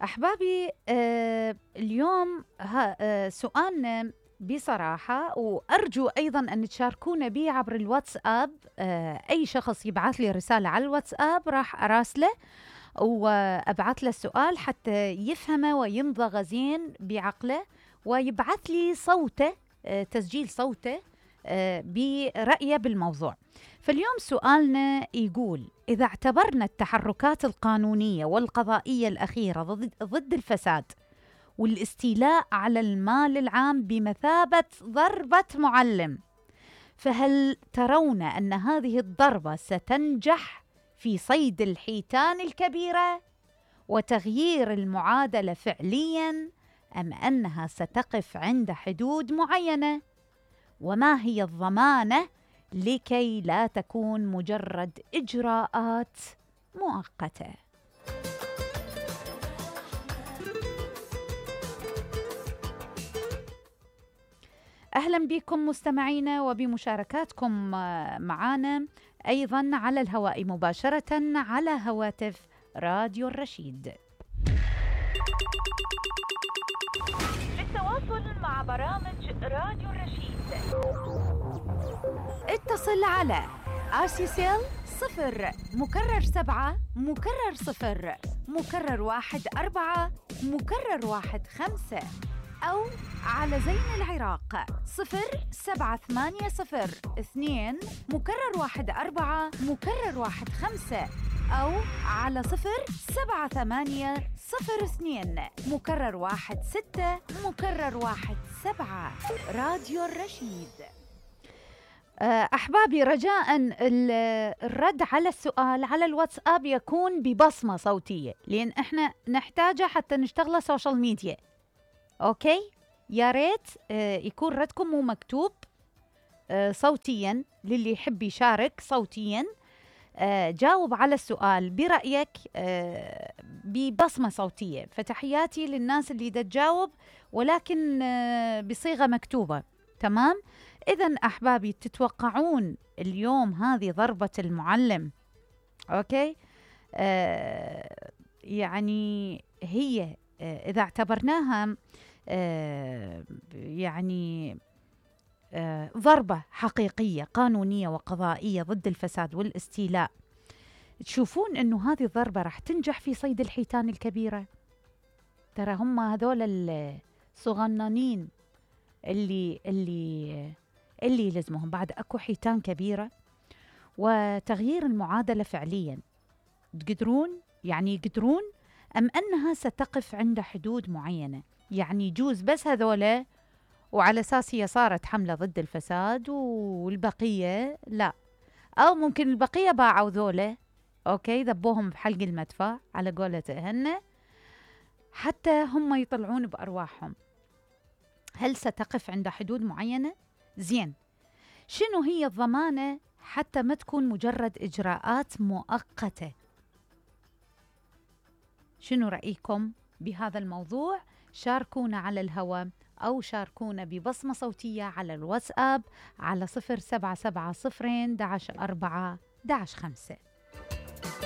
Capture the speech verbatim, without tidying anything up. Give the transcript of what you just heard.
أحبابي، آه اليوم ها آه سؤالنا بصراحة، وأرجو أيضاً أن تشاركونا به عبر الواتساب. آه أي شخص يبعث لي رسالة على الواتساب راح أراسله وأبعث له السؤال حتى يفهمه ويمضغ زين بعقله، ويبعث لي صوته، آه تسجيل صوته آه برأيه بالموضوع. فاليوم سؤالنا يقول: إذا اعتبرنا التحركات القانونية والقضائية الأخيرة ضد, ضد الفساد والاستيلاء على المال العام بمثابة ضربة معلم، فهل ترون أن هذه الضربة ستنجح في صيد الحيتان الكبيرة وتغيير المعادلة فعلياً، أم أنها ستقف عند حدود معينة؟ وما هي الضمانة لكي لا تكون مجرد إجراءات مؤقتة؟ أهلا بكم مستمعينا وبمشاركاتكم معنا أيضا على الهواء مباشرة على هواتف راديو الرشيد. للتواصل مع برامج راديو الرشيد اتصل على آسيسيل صفر مكرر سبعة مكرر صفر مكرر واحد أربعة مكرر واحد خمسة، أو على زين العراق صفر سبعة ثمانية صفر اثنين مكرر واحد أربعة مكرر واحد خمسة، أو على صفر سبعة ثمانية صفر اثنين مكرر واحد ستة مكرر واحد سبعة. راديو الرشيد. أحبابي، رجاءً الرد على السؤال على الواتساب يكون ببصمة صوتية، لأن إحنا نحتاجه حتى نشتغل سوشيال ميديا. أوكي؟ يا ريت يكون ردكم مو مكتوب، صوتياً للي يحب يشارك صوتياً. جاوب على السؤال برأيك ببصمة صوتية. فتحياتي للناس اللي دا تجاوب ولكن بصيغة مكتوبة. تمام؟ إذن أحبابي، تتوقعون اليوم هذه ضربة المعلم؟ أوكي؟ آه يعني هي آه إذا اعتبرناها آه يعني آه ضربة حقيقية قانونية وقضائية ضد الفساد والاستيلاء، تشوفون أنه هذه الضربة راح تنجح في صيد الحيتان الكبيرة؟ ترى هم هذول الصغنانين اللي اللي اللي يلزمهم، بعد أكو حيتان كبيرة. وتغيير المعادلة فعليا تقدرون يعني يقدرون، أم أنها ستقف عند حدود معينة؟ يعني يجوز بس هذولا وعلى أساس هي صارت حملة ضد الفساد والبقية لا، أو ممكن البقية باعوا ذولا، أوكي، ذبوهم بحلق المدفع على قولة هن حتى هم يطلعون بأرواحهم. هل ستقف عند حدود معينة؟ زين، شنو هي الضمانة حتى ما تكون مجرد إجراءات مؤقتة؟ شنو رأيكم بهذا الموضوع؟ شاركونا على الهواء أو شاركونا ببصمة صوتية على الواتساب على صفر سبعة سبعة صفرين دعش أربعة دعش خمسة.